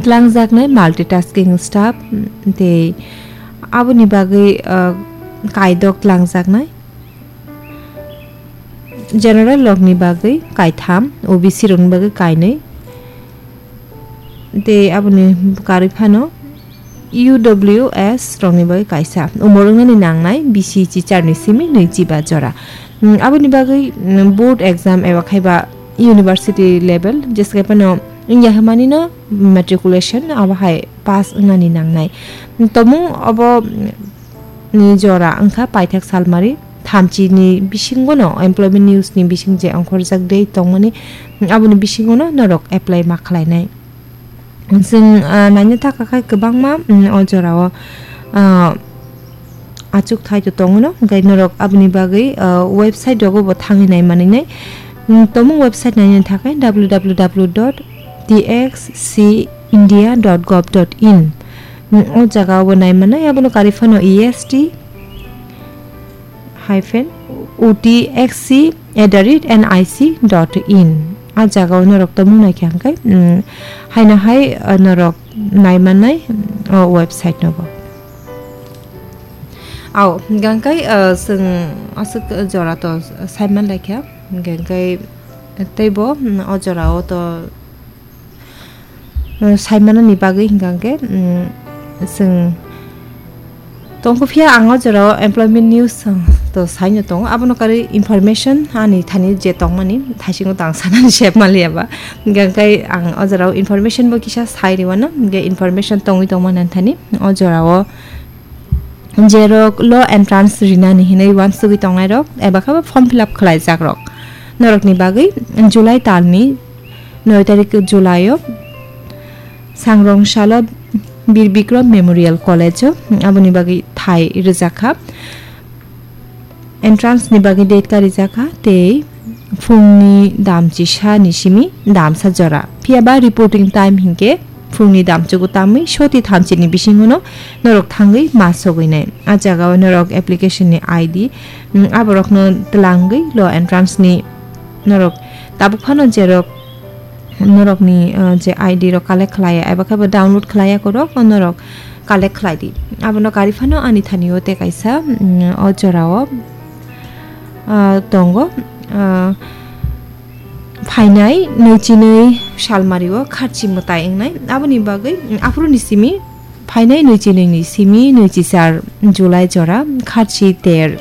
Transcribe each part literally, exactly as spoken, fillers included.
Tlangjaknai multitasking staff, mm, tei aboni bagwi, uh, kaidok tlangjaknai. General rokni bagwi kaitham, O B C rokni bagwi kainwi. Tei aboni karwi phano U W S rokni bagwi kaisa. Umor wngnani nangnai bisi chichar ni simi nwi chiba jora. Mm, aboni bagwi, mm, board exam eba khaiba university level, jeske phano wngya hwnmani no matriculation abo hai pass wngnani nangnai. Tomung obo, mm, ni jora wngkha paithak salmari thamchi ni bisingo no employment news ni bising je ongkhorjak de tongmani, mm, aboni bisingo no norok apply ma khlainai. Chwng, ah, naina thaka khai kwbangma, mm, o jorao, ah, achuk thai to tongo no, hwnkhe norok aboni bagwi, ah, website rogo bo thangwi nai manwi nai. Mm, tomung website naina thaka W W W dot T X C India dot gov dot in. Mm, o jaga o bo nai manai, abono karwi phano E S T hyphen O T X C at the rate N I C dot in. A jaga o norok tomung nai khe hwnkhe, mm, haino hai, uh, norok nai manai, mm, o website no bo. Ao, hwnkhe, uh, chwng aswk jora to sai man lai kha, hwnkhe tei bo, mm, o jora o to Saimanani bagwi hwnkha hwnkhe, mm, chwng tongkha, phiya ang o jorao employment news, uh, to saino tongo. Abono karwi information ani thani je tongmani thaisingo to ang sanani sep maliya ba. Hwnkha hwnkhe ang o jorao information bo kisa sai rwano, hwnkhe information tongwi tongmani ani thani o jorao jerok lo entrance rinani hinwi uansugwi tongnairok eba khe form fill up khlaijakrok. Norokni bagwi July talni noi tarik July o Sangrong salo Bir Bikrom Memorial College o aboni bagwi thai rwjakha. Entrance ni bagwi date karijakha tei phungni dam chisa ni simi damsa jora. Phiya ba reporting time hinkhe phungni dam chugu tamwi soti thamchi ni bisingo no norok thangwi ma sogwi nai. A jaga o norok application ni I D, mm, aborok no twlangwi lo entrance ni norok tabuk phano jerok norok ni, uh, je I D rok collect khlai ya eba khe bo download khlai ya korok norok collect khlai di. Abono kari phano ani thani o tei kaisa, mm, o jora o, uh, tongo, uh, phainai nui chinui salmari o kharchi mwtai wngnai. Aboni bagwi, mm, aphuru ni simi phainai nui chinui ni simi nui chichar July jora kharchi ter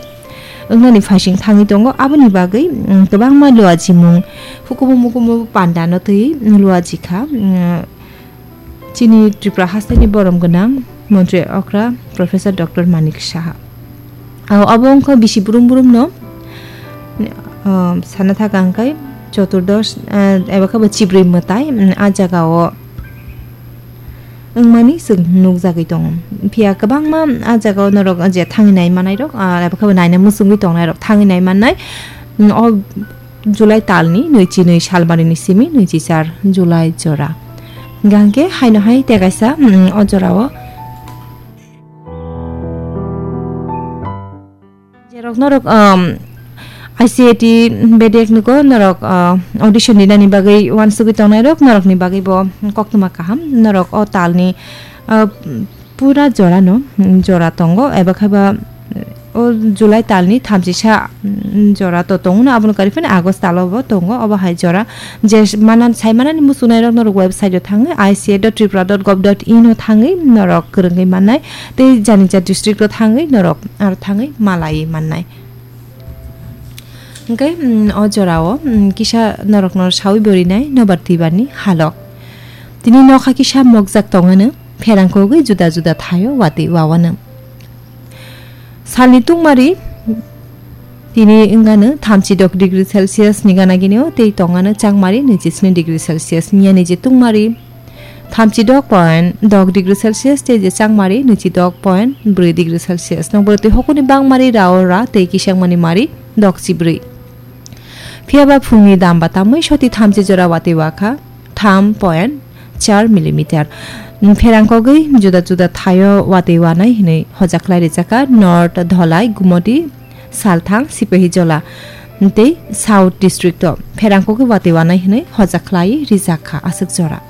wngnani phaising thangwi tongo. Aboni bagwi, mm, kwbangma luachimung hukumu mukumu panda no twi luachi kha. Mm, chini Tripura hasteni borom gwnang montri okra Professor Doctor Manik Saha. Abo wngkha bisi brum brum no, ah, sana thaka hwnkhe choturdosh, ah, eba khe bo chibrwi mwtai, mm, a jaga o wngmani chwng nukjagwi tongo. Phiya kwbangma a jaga o norok je thangwi nai manai rok, ah, eba khe bo naina muchungwi tongnai rok thangwi nai mannai. Mm, o July talni nui chinui salmari ni simi nui chichar July jora. Hwnkhe haino hai tei kaisa, mm, o jora o. Jerok norok, um, I C A T bedek nugo norok, uh, audition dinani bagwi uansugwi tongnai rok norokni bagwi bo koktwma kaham. Norok o talni, uh, pura jora no, mm, jora tongo eba khe ba, o July talni thamchisa, mm, jora to tongo no, abono kari phano August talo bo tongo, obo hai jora. Je mana, sai manani muchungnai rok norok website o thangwi I C A dot tripura dot gov dot in o thangwi norok kwrwngwi mannai, tei jani ja district o thangwi norok aro thangwi malaiwi mannai. Hwnkhe, mm, o jorao, mm, kisa norokno saui bo rinai nobar twibarni halok. Tini nokha kisa mokjak tongano, pherang kogwi juda juda thaio watwi wawano. Salni tungmari tini wngano thamchi dok degree Celsius ni gana gini o, tei tongano changmari nwichi sni degree Celsius, miyani je tungmari thamchi dok point dok degree Celsius tei je changmari nwichi dok point bwrwi degree Celsius. Nokbar twi hokuni bangmari rao ra tei kisangmani mari dok chibrwi. Phiya ba phungni dam ba tamwi soti thamchi jora watwi wakha tham point char millimeter. Pherang kogwi juda juda thaio watwi wanai hinwi hojaklai rijak kha North Dholai, Gumoti, Salthang, Sipahijola tei South District o pherang kogwi watwi wanai hinwi hojaklai rijak kha aswk jora.